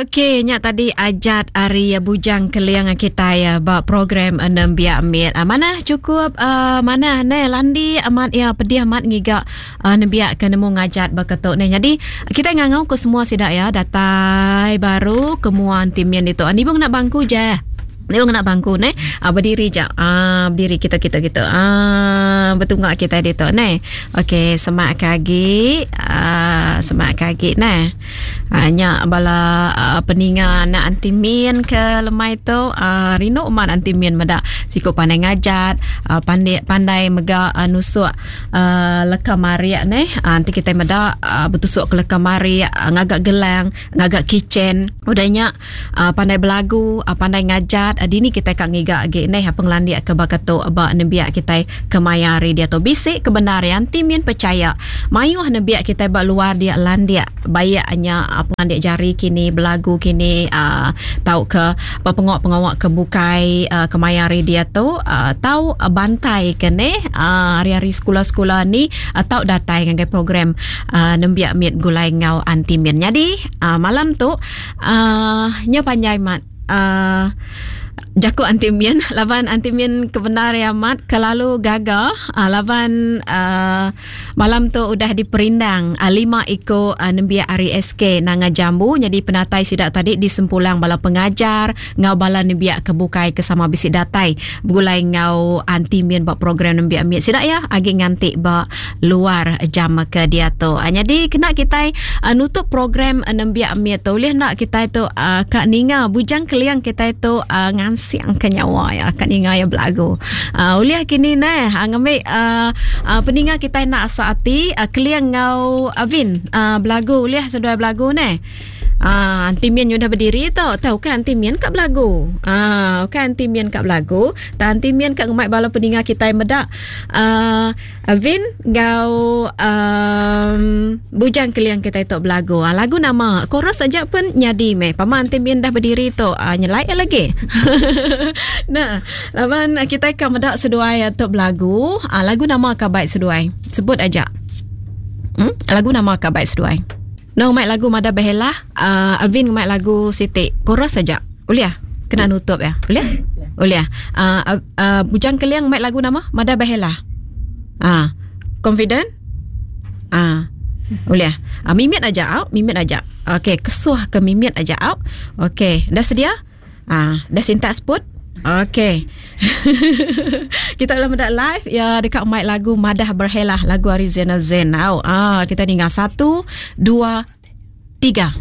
Okey, nya tadi ajat ari Bujang Keling kitai ba program Nembiak Mit. Manah cukup manah neh landi amat iya pedih amat ngiga nembiak ke nemu ngajat baka tu neh. Nyadi kitai ngangau ke semua sida iya datai baru ke mua enti min ditu. Nibung ngena bangku je. Nibung ngena bangku neh. Bediri ja. Bediri kitu kitu kitu. Betunga kitai ditu neh. Okey, semak ke agi. Semak ke agi neh. Aa nya bala aa peninga anak anti min ke lemai tu aa rindu amat anti min meda siku pandai ngajat aa pandai pandai mega aa nusuk aa leka marik neh aa enti kitai meda aa betusuk ke leka marik ngaga gelang ngaga keychain udah nya aa pandai belagu aa pandai ngajat dini kitai ka ngiga agi neh pengelandik ke baka tu ba nembiak kitai kemaya hari diatu. Bisi ke bendar iya enti min pechaya mayuh nembiak kitai ba luar dia landik baik nya pengelandik jari kini belagu kini aaa tauka ba pengawa-pengawa ke bukai aaa kemaya hari diatu aaa tau bantai ke neh aaa hari-hari sekula-sekula ni tau datai ngagai program aaa nembiak mit begulai enggau anti min. Nyadi aaa malam tu aaa nyau panjai mat. Uh, jaku anti min laban anti min ke bendar ya amat kelalu gaga uh, laban uh, malam tu udah diperindang uh, lima iko uh, nembiak ari SK Nanga Jambu jadi penatai sida tadi disempulang bala pengajar ngau bala nembiak ke bukai ke sama bisi datai begulai ngau anti min ba program nembiak mit sida ya agi nganti ba luar jam ke diatu. Uh, jadi kena kitai uh, nutup program uh, nembiak mit tu ulih enda kitai tu uh, ka ninga bujang keliang kitai tu uh, ngansing ke nyawa ya ka ninga ya belagu. Uh, ulih kini neh uh, ngambi uh, uh, peninga kitai nak asa ati uh, keliang ngau Avin uh, belagu ulih seduai belagu neh. Ah, Aunty Min udah berdiri tu. Tahu kan Aunty Min ka belagu. Ah, kan Aunty Min ka belagu. Ta Aunty Min ka ngemai bala peninga kitai meda. Ah, Vin enggau um, Bujang Keling kitai tu belagu. Ah, lagu nama chorus aja pun nyadi meh. Pama Aunty Min dah berdiri tu. Ah, nyelai lagi. nah, laban kitai ka meda seduai tu belagu. Ah, lagu nama ka baik seduai. Sebut aja. Hmm? Lagu nama ka baik seduai. No ngemai lagu Mada Behelah, uh, Alvin ngemai lagu Siti. Chorus saja. Boleh ah? Kena nutup ya. Boleh? Boleh. Uh, uh, Bujang Keling ngemai lagu nama Mada Behelah. Ah. Uh, confident? Ah. Uh, boleh. Uh, mimit aja, au. Mimit aja. Okey, kesuh ke mimit aja, au. Okey, dah sedia? Ah, dah sintak seput? Okey. kita dalam meda live ya dekat mic lagu Madah Berhelah lagu ari Zena Zen. Au, ah kita dengar satu, dua, tiga.